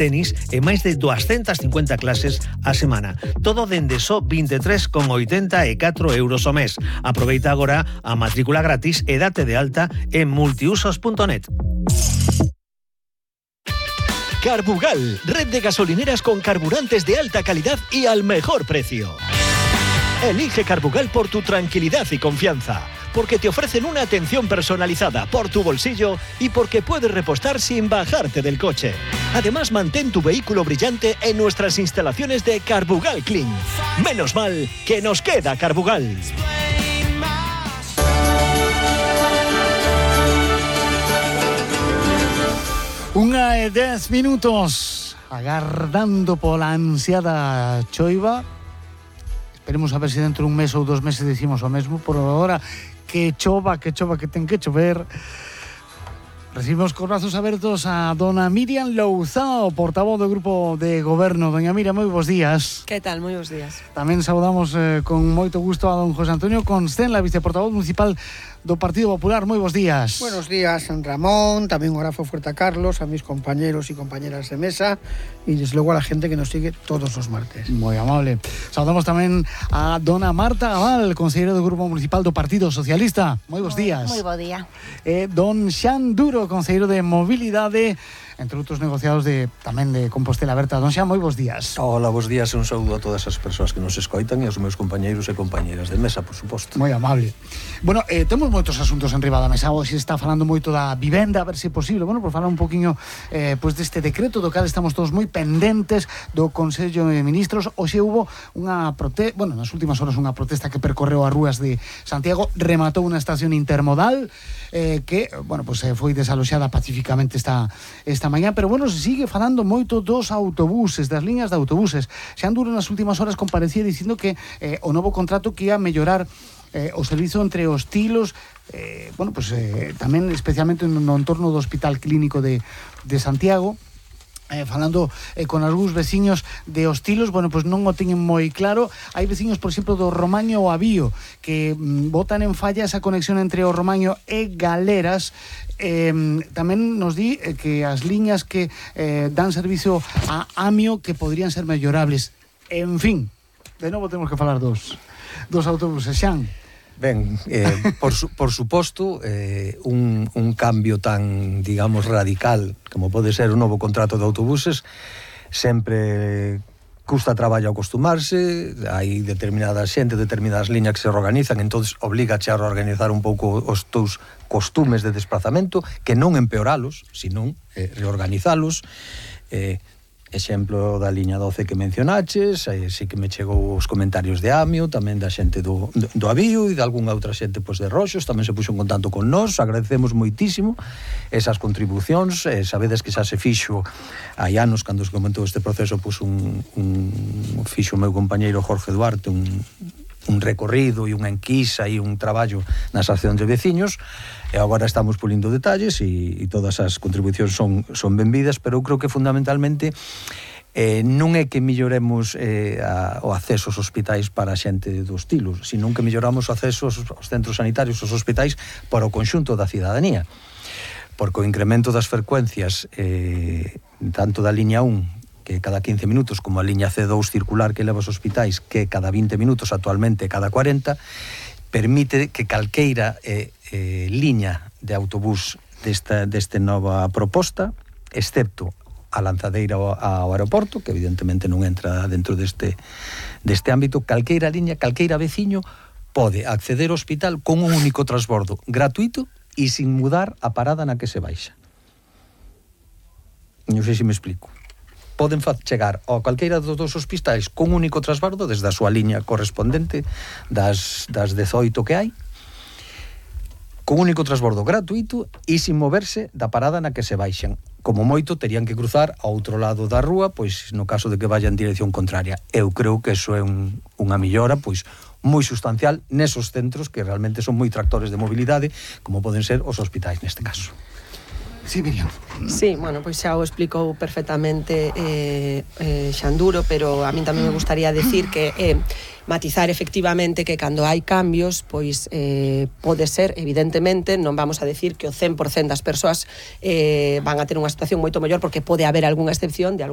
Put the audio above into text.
tenis e máis de 250 clases a semana. Todo dende só 23,84 euros ao mes. Aproveita agora a matrícula gratis e date de alta en multiusos.net. Carbugal, red de gasolineras con carburantes de alta calidad y al mejor precio. Elige Carbugal por tu tranquilidad y confianza, porque te ofrecen una atención personalizada por tu bolsillo y porque puedes repostar sin bajarte del coche. Además, mantén tu vehículo brillante en nuestras instalaciones de Carbugal Clean. Menos mal que nos queda Carbugal. Unha e 10 minutos agardando pola ansiada choiva. Esperemos a ver se dentro de un mes ou 2 meses decimos o mesmo. Por agora, que chova, que ten que chover. Recibimos con brazos abertos a dona Miriam Louzao, portavoz do Grupo de Goberno. Doña Miriam, moi bons días. Que tal? Moi bons días. Tamén saudamos con moito gusto a don José Antonio Constenla, viceportavoz municipal do Partido Popular. Moi bons días. Buenos días, San Ramón, tamén un abrazo fuerte a Carlos, a mis compañeros y compañeras de mesa y desde luego a la gente que nos sigue todos los martes. Moi amable. Saudamos tamén a dona Marta Aval, conselleira do Grupo Municipal do Partido Socialista. Moi bons días. Moi bo día. Don Xan Duro, conselleiro de Mobilidade, entre outros negociados tamén de Compostela Aberta. Don Xan, moi bons días. Hola, bons días e un saúdo a todas as persoas que nos escoitan e aos meus compañeiros e compañeiras de mesa, por suposto. Moi amable. Bueno, temos moitos asuntos en riba da mesa. Hoxe está falando moito da vivenda, a ver se é posible. Bueno, por falar un poquinho pois deste decreto do cal estamos todos moi pendentes do Consello de Ministros. Hoxe hubo unha nas últimas horas unha protesta que percorreu as rúas de Santiago, rematou unha estación intermodal que, bueno, pois foi desaloxada pacificamente esta mañá, pero bueno, se sigue falando moito dos autobuses, das liñas de autobuses. Xan Duro nas últimas horas comparecía dicindo que o novo contrato que ia mellorar o servizo entre os tilos, bueno, pues tamén especialmente no entorno do Hospital Clínico de Santiago. Falando con algúns veciños de Hostilos, bueno, pues non o teñen moi claro. Hai veciños, por exemplo, do Romaño ou Avío que botan en falla esa conexión entre o Romaño e Galeras. Tamén nos di que as liñas que dan servicio a Amio que podrían ser mellorables. En fin, de novo temos que falar dos autobuses. Xan. Ben, por suposto, un cambio tan, digamos, radical como pode ser o novo contrato de autobuses sempre custa traballo acostumarse. Hai determinadas liñas que se reorganizan, entón obligache a reorganizar un pouco os teus costumes de desplazamento, que non empeoralos, senón reorganizalos. Exemplo da liña 12 que mencionaches, sí que me chegou os comentarios de Amio, tamén da xente do Avío e de algunha outra xente de Roxos, tamén se puxo en contacto con nós. Agradecemos moitísimo esas contribucións. Sabedes que xa se fixo hai anos, cando se comentou este proceso, fixo o meu compañeiro Jorge Duarte un recorrido e unha enquisa e un traballo nas accións de veciños, e agora estamos pulindo detalles e todas as contribucións son benvidas, pero eu creo que fundamentalmente non é que melloremos o acceso aos hospitais para a xente dos tilos, senón que melloramos o acceso aos centros sanitarios, aos hospitais para o conxunto da cidadanía, porque o incremento das frecuencias tanto da liña 1 que cada 15 minutos, como a liña C2 circular que leva aos hospitais, que cada 20 minutos, actualmente cada 40, permite que calqueira liña de autobús desta nova proposta, excepto a lanzadeira ao aeroporto, que evidentemente non entra dentro deste ámbito, calqueira liña, calqueira veciño pode acceder ao hospital con un único transbordo gratuito e sin mudar a parada na que se baixa. Non sei se me explico. Poden chegar a calqueira dos dos hospitais con un único transbordo desde a súa liña correspondente das 18 que hai, con un único transbordo gratuito e sin moverse da parada na que se baixan. Como moito terían que cruzar ao outro lado da rúa, pois no caso de que vayan en dirección contraria. Eu creo que eso é unha mellora pois moi sustancial nesos centros que realmente son moi tractores de mobilidade, como poden ser os hospitais neste caso. Sí, Miriam. Sí, bueno, pois xa o explicou perfectamente Xanduro, pero a min tamén me gustaría decir que matizar efectivamente que cando hai cambios, pois pode ser, evidentemente, non vamos a decir que o 100% das persoas van a ter unha situación moito mellor, porque pode haber algunha excepción de algún